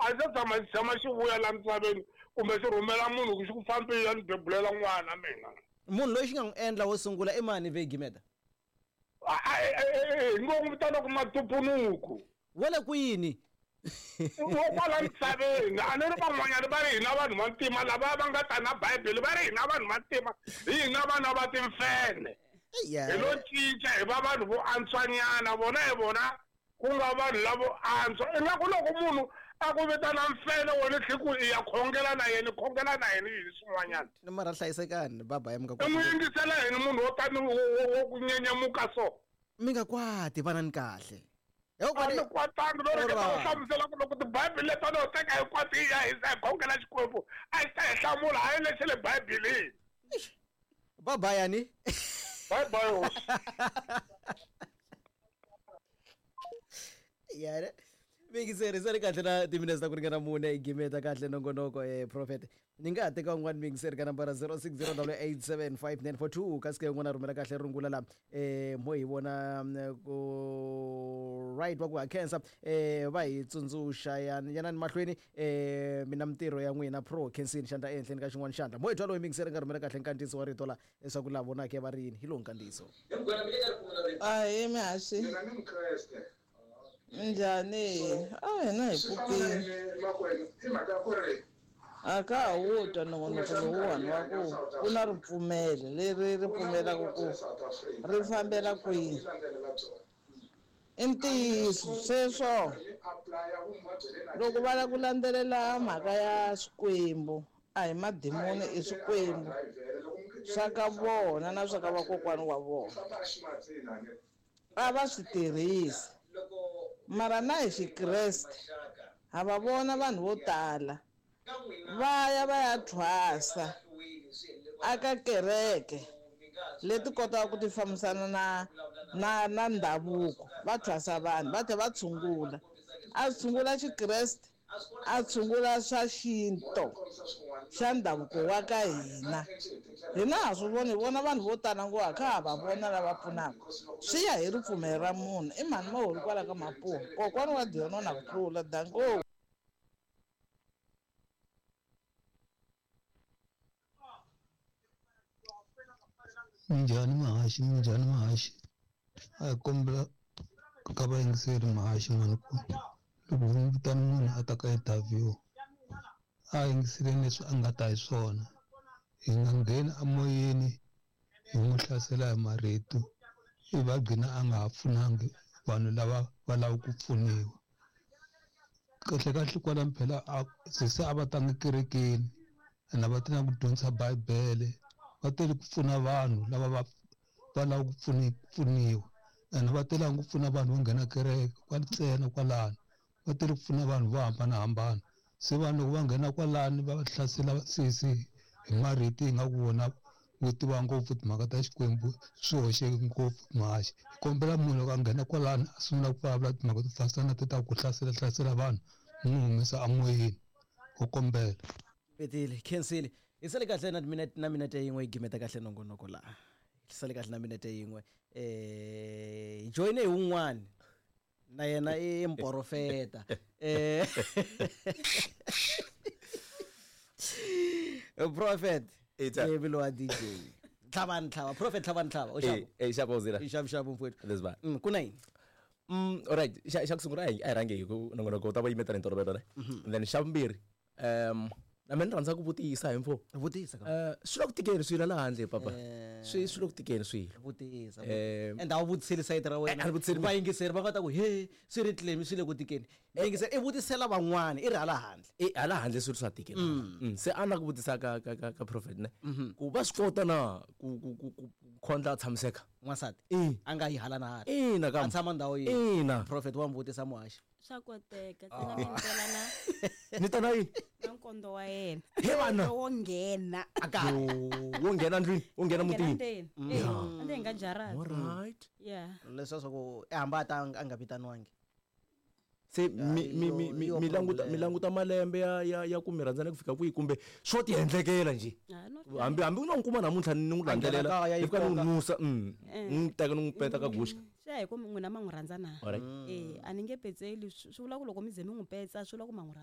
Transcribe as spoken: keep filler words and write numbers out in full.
A xi tshama xi tshama xi vuya la misaveni kumbe xi rhumela munhu ku xi ku fambile ni bebulela n'wana mina. Munhu loyi xi nga n'wi endla wo sungula i mani ve Gimeta? Hi ngo n'wi vitana ku Matupunuku. Wa le kwini? Wo kwala misaveni. A ni ri van'wanyana va ri hina vanhu va ntima lava va nga ta na Bibele va ri hina vanhu va ntima hi hina vana va timfene. Hi lo cinca hi va vanhu vo antswanyana vona hi vona ku nga vanhu lavo antswa. Ingaku loko munhu a ku vitana mfene wena tlhe ku i ya khongela na yena khongela na yena hi swin'wanyana. Ni mara hlayisekani baba ya mi nga kwati. I n'wi yingisela yini munhu wo tani wo ku nyenyemuka so? Mi nga kwati vanani kahle. A ni kwatangi no ri ta hlamusela ku loko tibibele leta no teka hinkwato yi ya hisa hi khongela Xikwembu a xi ta hi hlamula hayi lexi le Bibeleni. Bye bye yani. Bye bye hosi. Yare. Mingiseri sari kahle na timinetse ta ku ringana mune i gimeta kahle nongonoko eh prophet. Ni nga ha teka un'wana mingiseri ka nambara zero six zero eight seven five nine four two kasi ke un'wana rhumela kahle rungula la eh mo hi vona ku right wa ku ha khensa eh va hi tsundzuxa yanani mahlweni eh mina mintirho ya n'wina pro khensini xandla ehenhleni ka xin'wana xandla mo hi twa loyi mingiseri nga rhumela kahle nkandziyiso wa rito la leswaku la vonake va ri yini hi lowu nkandziyiso. Ahee mihaxi. Minjhani? A hina hi pfukile. A ka ha wu twa nongonoko lowuwani wa ku ku na ripfumelo leri ri pfumelaka ku ri fambela kwihi. I ntiyiso sweswo loko va lava ku landzelela mhaka ya swikwembu a hi madimoni i swikwembu swa ka vona na swa ka vakokwana wa vona a va swi tirhisi. Mara na hi Xikreste ha va vona vanhu vo tala va ya va ya thwasa aka kereke leti kotaka ku ti fambisana na na na ndhavuko va thwasa vanhu va tlhela va tshungula a tshungula Xikreste a tshungula swa xinto xa ndhavuko wa ka hina. Hina ha swi voni hi vona vanhu vo tala ngo ha kha ha va vona lava pfunaka swi ya hi ripfumelo ra munhu i mhani maholi kwala ka Mapuwa kokwana wa Diono na ku tlula danko. Minjhani mahaxi minjhani mahaxi a hi kombela ka vayingiseri mahaxi mani ku loko mi vitana munhu a ta ka interview a yingiseleni leswi a nga ta hi swona hi nga ngheni emoyeni hi n'wi hlasela hi marito ivi a gcina a nga ha pfunangi vanhu lava va lava ku pfuniwa. Kahle kahle kwalano phela se a va tanga kerekeni ene a va tanga ku dyondzisa Bibele va tele ku pfuna vanhu lava va va lava ku pfuniwa ene va telanga ku pfuna vanhu vo nghena kereke kwa ntsena kwalano va tele ku pfuna vanhu vo hambanahambana se vanhu loko va nghena kwalano va hlasela sesi hi marito hi nga ku vona vo tiva ngopfu timhaka ta Xikwembu swi hoxeke ngopfu mahaxi. Hi kombela munhu loko a nghena kwalano a sungula ku vulavula timhaka to fambisana na te ta ku hlasela hlasela vanhu mi n'wi humesa emoyeni ho kombela. Petile khensile hi sale kahle na minete na minete yin'we yi gimeta kahle nongonoko laha hi sale kahle na minete yin'we eh hi joyine hi wun'wani na yena i mporofeta eh prophet Evilo wa D J Tlhava ntlhava prophet tlhava ntlhava o xavo eh xavo zira i xavo xavo mfowethu lesba mm kuna yini mm alright xa xa ku sungula a hi rhange hi ku nongonoko ta va yimeta ni ntolovelo ne and then xa vumbirhi um na mina ni rhandza ku vutisa hi mfo vutisa ka eh swi le ku tikeni swilo la handle papa swi swi le ku tikeni swilo vutisa eh and a wu vutiseli sayiti ra wena va yingiseri va nga ta ku he swi ri tlemi swi le ku tikeni yingiseri i vutisela van'wana i ri hala handle eh hala handle swilo swa tikela se a na ku vutisa ka ka ka prophet ne ku va swi kota na ku ku ku khondla a tshamiseka n'wansati a nga yi hala na hala ina ka a tshama ndhawu yin'we ina prophet wa mvutisa muhaxi swa koteka tsena mi ndlela na ni ta na yini na nkondo wa yena he vana wo nghena aka wo nghena ndlwini wo nghena mutini eh ande nga jarata all right yeah leswa swa ku hamba ta a nga vitaniwangi se mi mi mi mi languta mi languta malembe ya ya ya ku mi rhandzana ku fika kwihi kumbe swo ti endlekela nje hambi hambi u nga n'wi kuma namuntlha ni n'wi landzelela hi fika ni n'wi nusa n'wi teka ni n'wi peta ka guxka swi ya hi ku n'wina ma n'wi rhandza na eh a ni nge petseli swi vula ku loko mi ze mi n'wi petsa swi vula ku ma n'wi